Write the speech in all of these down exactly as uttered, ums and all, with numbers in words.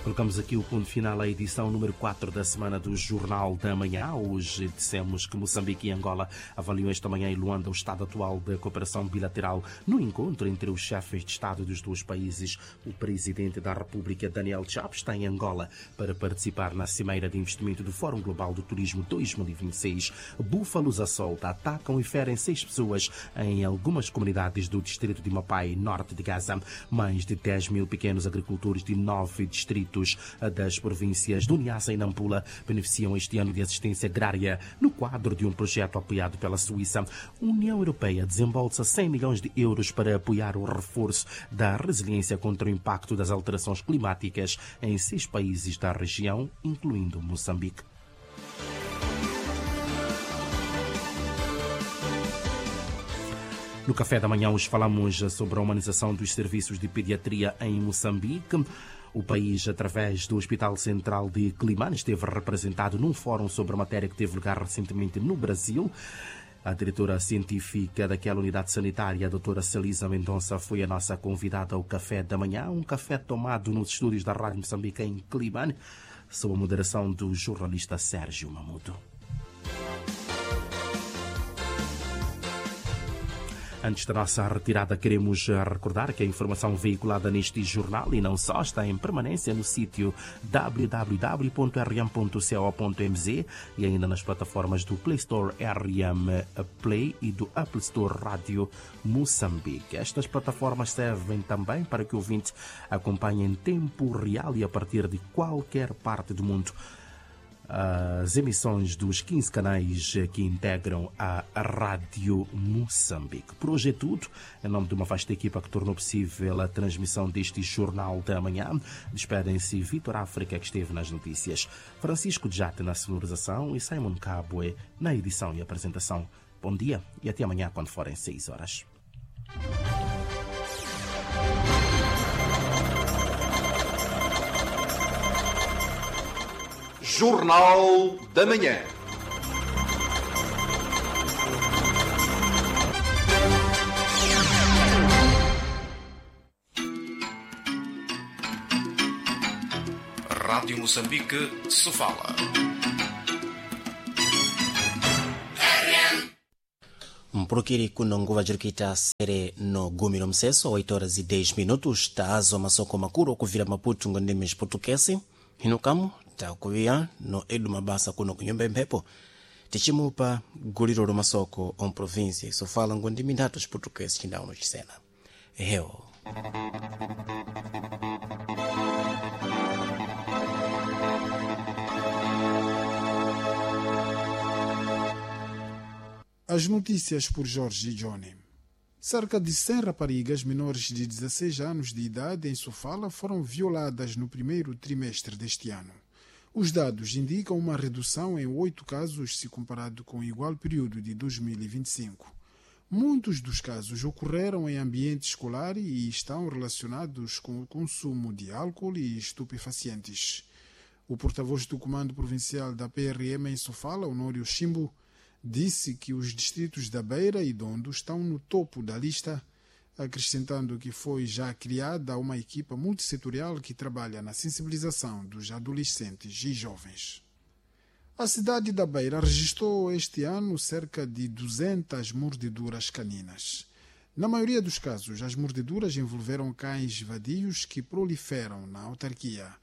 Colocamos aqui o ponto final à edição número quatro da semana do Jornal da Manhã. Hoje dissemos que Moçambique e Angola avaliam esta manhã em Luanda o estado atual da cooperação bilateral no encontro entre os chefes de Estado dos dois países. O presidente da República, Daniel Chapo, está em Angola para participar na Cimeira de Investimento do Fórum Global do Turismo dois mil e vinte e seis. Búfalos à solta atacam e ferem seis pessoas em algumas comunidades do distrito de Mapai, norte de Gaza. Mais de dez mil pequenos agricultores de nove distritos das províncias do Niassa e Nampula beneficiam este ano de assistência agrária no quadro de um projeto apoiado pela Suíça. A União Europeia desembolsa cem milhões de euros para apoiar o reforço da resiliência contra o impacto das alterações climáticas em seis países da região, incluindo Moçambique. No Café da Manhã hoje falamos sobre a humanização dos serviços de pediatria em Moçambique. O país, através do Hospital Central de Quelimane, esteve representado num fórum sobre a matéria que teve lugar recentemente no Brasil. A diretora científica daquela unidade sanitária, a doutora Celisa Mendonça, foi a nossa convidada ao Café da Manhã, um café tomado nos estúdios da Rádio Moçambique em Quelimane, sob a moderação do jornalista Sérgio Mamudo. Antes da nossa retirada, queremos recordar que a informação veiculada neste jornal e não só está em permanência no sítio w w w ponto r m ponto co ponto m z e ainda nas plataformas do Play Store R M Play e do Apple Store Rádio Moçambique. Estas plataformas servem também para que o ouvinte acompanhe em tempo real e a partir de qualquer parte do mundo as emissões dos quinze canais que integram a Rádio Moçambique. Por hoje é tudo. Em nome de uma vasta equipa que tornou possível a transmissão deste Jornal da Manhã, despedem-se Vítor África, que esteve nas notícias, Francisco Djate na sonorização e Simon Cabwe na edição e apresentação. Bom dia e até amanhã quando forem seis horas. Jornal da Manhã. Rádio Moçambique, Sofala. Mpurukiri kuno nguva jirikuita sere no gumi no mseso oito horas e dez minutos taazo masoko makuru okuvira Maputo ngo ndimi Xiportuguesi hino kamo takuviya no edu mabasa kuno kunyumba imphepo tichimupa guliro lo masoko om província sofala ngo ndimi ndatu Xiportuguesi chindawu no chisena eheo. As notícias por Jorge Johnny. Cerca de cem raparigas menores de dezasseis anos de idade em Sofala foram violadas no primeiro trimestre deste ano. Os dados indicam uma redução em oito casos se comparado com o igual período de dois mil e vinte e cinco. Muitos dos casos ocorreram em ambiente escolar e estão relacionados com o consumo de álcool e estupefacientes. O porta-voz do Comando Provincial da P R M em Sofala, Honório Chimbo, disse que os distritos da Beira e Dondo estão no topo da lista, acrescentando que foi já criada uma equipa multissetorial que trabalha na sensibilização dos adolescentes e jovens. A cidade da Beira registrou este ano cerca de duzentas mordeduras caninas. Na maioria dos casos, as mordeduras envolveram cães vadios que proliferam na autarquia.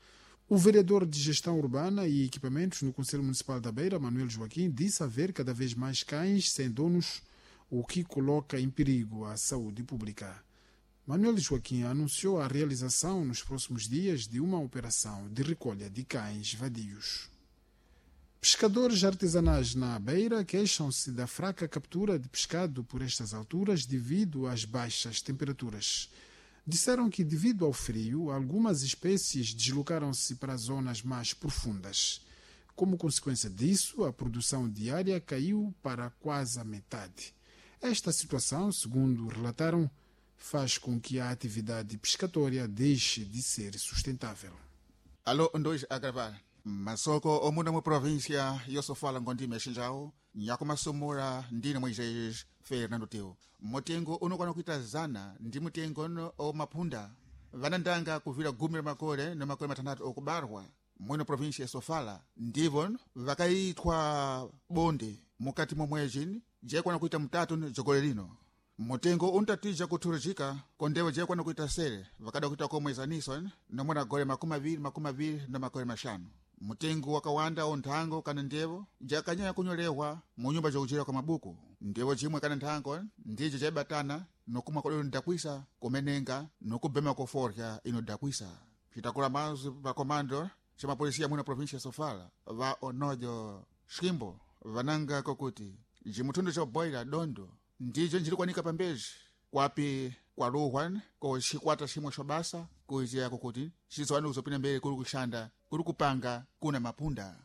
O vereador de Gestão Urbana e Equipamentos no Conselho Municipal da Beira, Manuel Joaquim, disse haver cada vez mais cães sem donos, o que coloca em perigo a saúde pública. Manuel Joaquim anunciou a realização nos próximos dias de uma operação de recolha de cães vadios. Pescadores artesanais na Beira queixam-se da fraca captura de pescado por estas alturas devido às baixas temperaturas. Disseram que, devido ao frio, algumas espécies deslocaram-se para zonas mais profundas. Como consequência disso, a produção diária caiu para quase a metade. Esta situação, segundo relataram, faz com que a atividade pescatória deixe de ser sustentável. Alô, um, dois, a gravar. Masoko omuna mu província yosofala ngondime xinjao nyakumasumura ndine Moisés Fernando Teo mutengo unokwana kuita zana ndi mutengo ono omaphunda Vanandanga kuvira gumi la makore na makore matandatu okubarwa mwino província ya Sofala ndivo vakaitwa bonde mukati mwa mwezi jekwana kuita mutatu jogole lino. Mutengo untatija kuthurujika kondewo jekwana kuita sere vakada kuita komwezaniso nomwena gore makumi aviri makumi aviri na makore mashanu. Mutengo wakawanda onthango kana ndevo jakanyanya kunyolehwa mu nyumba jokuchera kwa mabuku. Ndevo chimwe kana nthango ndijo jaibatana nokumwa kodolo ndakwisa kumenenga nokubema koforya inodakwisa. Citakula mazu pa komando ca mapolisiya mwina província ya Sofala va onojo Ximbo vananga kokuti jimuthundo ca boila dondo ndijo njilikwanika pambeji kwapi kwaluhwa ko xikwata ximwe xo basa kuiziya kokuti xizwani kuzopina mbele kuli kuxanda kuli kupanga kuna mapunda.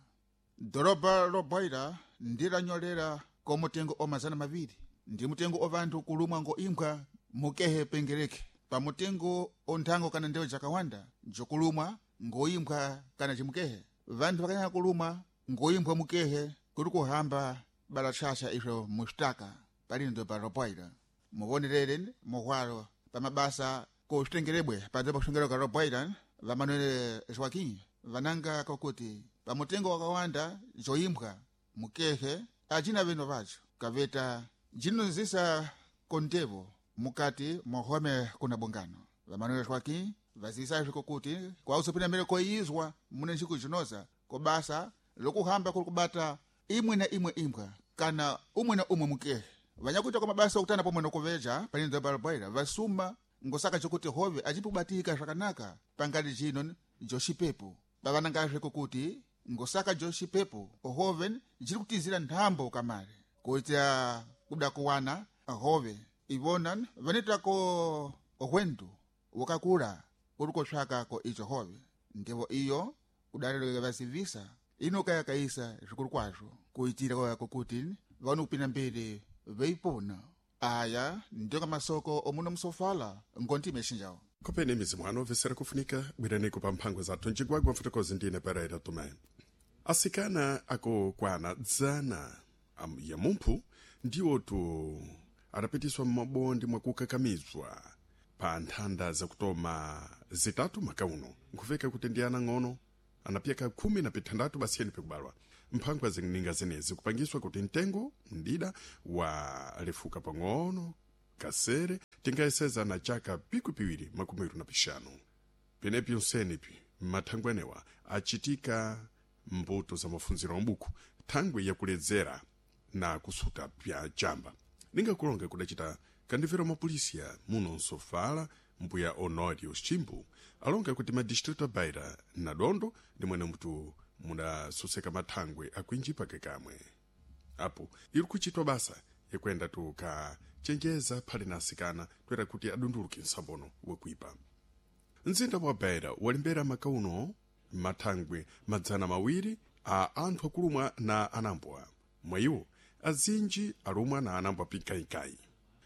Doroba loboila ndilanyolera ko mutengo o mazana maviri ndi mutengo o vanthu kulumwa ngo imbwa mukehe pengereke pa mutengo o nthango kana ndewo jakawanda jokulumwa ngoimbwa kana cimukehe. Vanthu vakanyanya kulumwa ngoimbwa mukehe kuli kuhamba balatshasha izvo muxitaka palino pa roboila. Muvonerere muhwalo pa mabasa kuxitengerebwe padzopa kuxongereka ka roboila va Manuel Joaquim vananga kokuti pa mutengo wakawanda joimbwa mukehe acina veno vaco kaveta jinonzisa kondevo mukati mohome kuna bungano. Va Manuel Joaquim vazisa kokuti kwausopina mbele koizwa mune ntsiku jinoza kobasa lokuhamba kuli kubata imwe na imwe imbwa kana umwe na umwe mukehe. Vanyakuita kwa mabasa okutana pomwe nokuveja panino balaboila vasuma ngosaka chokuti hove acipubatika zvakanaka pangali jino joxipepo. Pavanangazve kokuti ngosaka joxipepo hove jiri kutizira nthambo kamare kuitira kuda kuwana hove ivona vanitako hwendu wakakula kuli koxaka ko ico hove. Ndevo iyo kudalelo vasivisa ino kayakaisa zvikulu kwazvo kuitira kokuti vano kupinda mbele veipona. Aya ndiyo masoko omuno musofala ngontime xinjawo. Kopeni mizimu ano vesera kufunika bwiraniko pa mphangwe zathu ncigwagwa mfotokozi ndine Pereira Tomé. Asikana akukwana dzana am- ya mumphu ndiwotu adapitiswa m'mabondi mwakukakamizwa pa nthanda zakutoma zitatu makauno nkhuveka kuti ndi ana ng'ono anapyeka khumi na pithandatu basiyeni pikubalwa. Mphangwa zininga zenezi kupangiswa kuti mtengo mdida walefuka pang'ono kasere tingayeseza na chaka piku piwiri makumi awiri na pixanu. Penepi onsenipi mathangwe anewa achitika mbuto za mafunziro ambuku thangwe yakuledzera na kusuta pya chamba. Ningakulonga kudacita kandimvera mapolisiya muno nsofala mbuya Honório Ximbo alonga kuti madistrito a Beira na Dondo ndi mwene mutu mudasoseka mathangwe akwinji pake kamwe. Apo iri kuchitwa basa yakuenda tukachenjeza phali na asikana toera kuti adunduluke msambono wakuipa. Mzinda wa Beira walimbera makauno mathangwe madzana mawiri a anthu akulumwa na anambwa. Mwa iwo azinji alumwa na anambwa pinkainkai.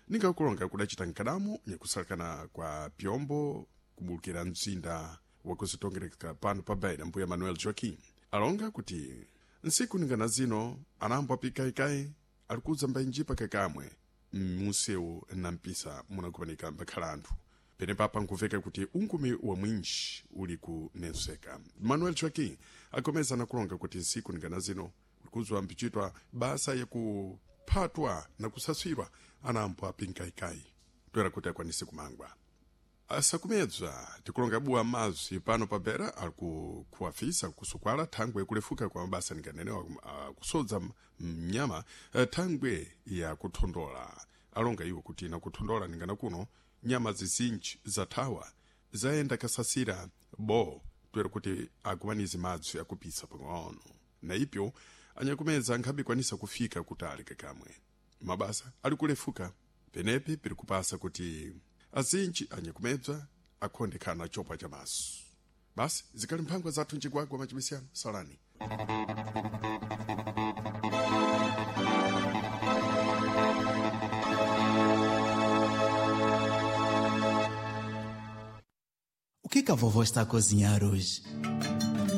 Ningakulonga kudacita nkadamo nyakusalakana kwa pyombo kubulukira mzinda wakuzitongereka pano pa Beira mbuya Manuel Joaquim alonga kuti ntsiku ningana zino anambwa pinkainkai ali kudza mbainji pakakamwe mmusewu na mpisa munakupanika mbakhala anthu. Penepapa nkuveka kuti unkumi wa mwinji uli kunenseka. Manuel Joaquim akomeza nakulonga kuti ntsiku ningana zino kuzwa mpichitwa basa yakuphatwa na kusasirwa anambwa pinkaikai toera kuti akwanise kumangwa. Asakumedzwa tikulonga buwa mazwi pano pa Beira ali kuafisa kusukwala thangwe kulefuka kwa mabasa ninganenewa kusodza mnyama thangwe ya kuthondola. Alonga iwo kuti nakuthondola ningana kuno nyama zizinji zathawa zayenda kasasira bo toera kuti akumanize madzi akupisa pang'ono. Na ipyo anyakumedza ankhabikwanisa kufika kutali kakamwe. Mabasa ali kulefuka penepi piri kupasa kuti azinji anyakumedzwa akhondekhana chopa cha maso. Basi zikali mphangwa zathu ncigwagwa machibisiyano salani. O que que a vovó está a cozinhar hoje?